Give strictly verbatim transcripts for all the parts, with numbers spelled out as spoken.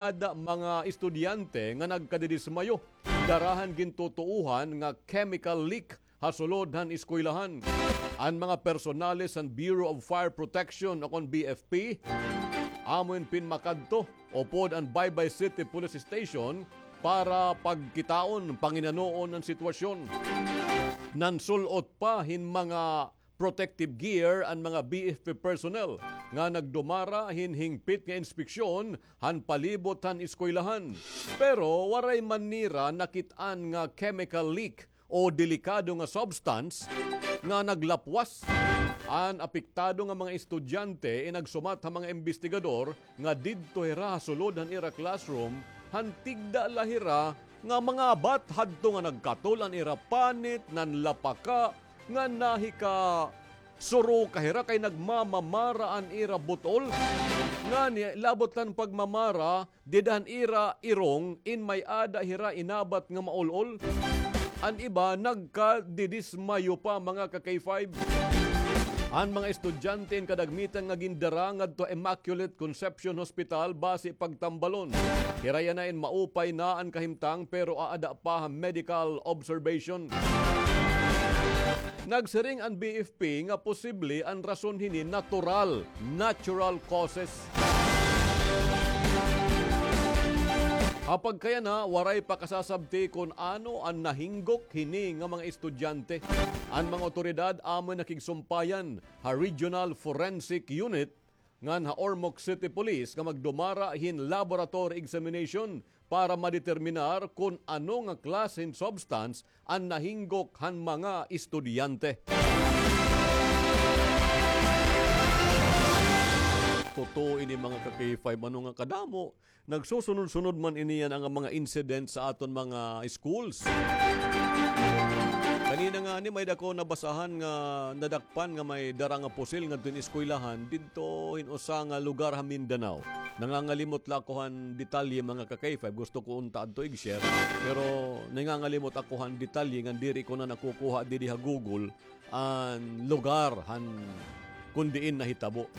ada mga estudyante nga nagkadidismayo. Dara han gintutuohan nga chemical leak ha sulod han eskwelahan. An mga personales han Bureau of Fire Protection o kon B F P, amo in pinmakadto upod an Baybay City Police Station para pagkitaon, panginanoon an sitwasyon. Nansul-ot pa hin mga protective gear an mga B F P personnel nga nagdumara hin hingpit nga inspeksyon han palibot han eskwelahan. Pero waray man nira nakit-an nga chemical leak o delikado nga substance nga naglapwas. An apektado nga mga estudyante inagsumat ha mga imbestigador nga didto hira ha sulod han ira classroom han tigda la hira nga mangabat hadto nga nagkatol an ira panit, nanlapaka, nga nahikasuroka hira kay nagmamamara an ira but-ol. Ngani, labot la han pagmamara, dida han ira irong in may-ada hira inabat nga maul-ol. An iba nagkadidismayo pa, mga ka-K five. An mga estudyante in kadagmitan nga gindara ngadto Immaculate Conception Hospital basi pagtambalon. Hira yana in maupay na an kahimtang pero aada pa ha medical observation. Nagsiring an B F P nga posible an rason hini natural, natural causes. Ha pagkayana, waray pa kasasabti kon ano an nahinggok hini nga mga estudyante. An mga awtoridad amoy nakigsumpayan ha Regional Forensic Unit ngan ha Ormoc City Police nga magdumara hin laboratory examination para madeterminar kon ano nga klase hin substance an nahinggok han mga estudyante. Totoo ini, mga ka-K five, ano nga kadamo. Nagsusunod-sunod man ini yana nga mga incident sa aton mga schools. Kanina ngani may-ada ako nabasahan nga nadakpan nga may dara nga pusil ngadto hin eskwelahan didto hin usa nga lugar ha Mindanao. Nangangalimot la ako han detalye, mga ka-K five. Gusto ko unta adto ig-share, pero nangangalimot ako han detalye ngan diri ko na nakukuha didi ha Google an lugar han kon diin nahitabo.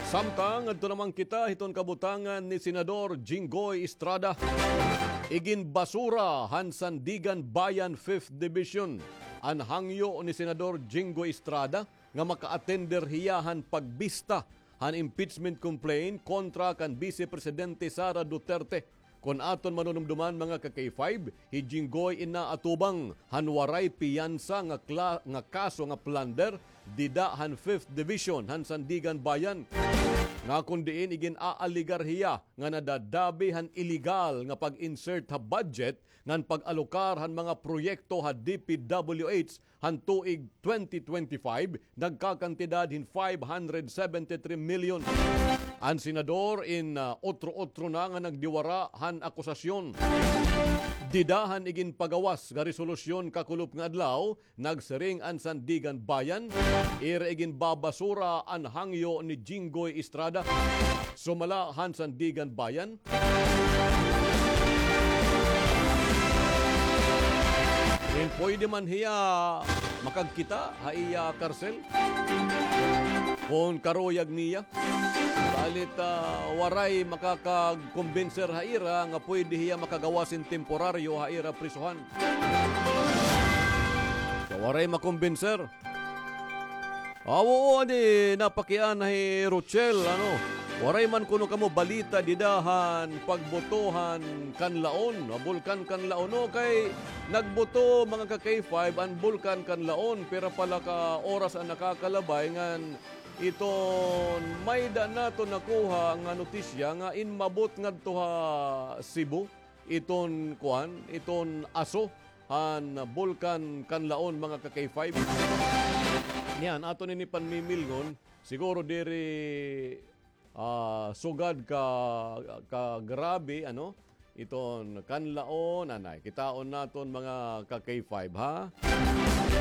Samtang adto naman kita hiton kabutangan ni Senador Jinggoy Estrada. Iginbasura han Sandiganbayan Fifth Division an hangyo ni Senador Jinggoy Estrada nga maka-attender hiya han pagbista han impeachment complaint kontra kan Vice Presidente Sara Duterte. Kon aton manunumduman, mga ka-K five, hi Jinggoy in naatubang han waray piyansa nga kla-, nga kaso nga plunder dida han Fifth Division han Sandiganbayan, nga kon diin igin-aalegar hiya nga nadadabi han iligal nga pag-insert ha budget ngan pag-alokar han mga proyekto ha D P W H han tuig twenty twenty-five, nagkakantidad hin five hundred seventy-three million. An senador in, ah, otro-otro na nga nagdiwara han akusasyon. Dida han iginpagawas nga resolusyon kakulop nga adlaw, nagsiring an Sandiganbayan, ira iginbabasura an hangyo ni Jinggoy Estrada. Sumala han Sandiganbayan, in pwede man hiya makagkita ha iya karsel kon karuyag niya. Balit, ah, waray makakagkumbinser ha ira nga pwede hiya makagawas hin temporaryo ha ira prisuhan. So, waray makumbinser. Aw, oo, adi, napakiana hi Rochelle, ano, waray man kuno kamo balita dida han pagbuto han Kanlaon, ha Bulkan Kanlaon, no? Kay nagbuto, mga ka-K five, an Bulkan Kanlaon, pira pa la ka oras an nakakalabay ngan iton may-ada naton nakuha nga notisya nga inmabot ngadto ha Cebu iton, kuan, iton aso han Bulkan Kanlaon, mga ka-K five. Niyan, aton ini panmimilngon, siguro diri, ah, sugad ka, ka grabe, ano, iton Kanlaon, anay. Kitaon naton, mga ka-K five, ha?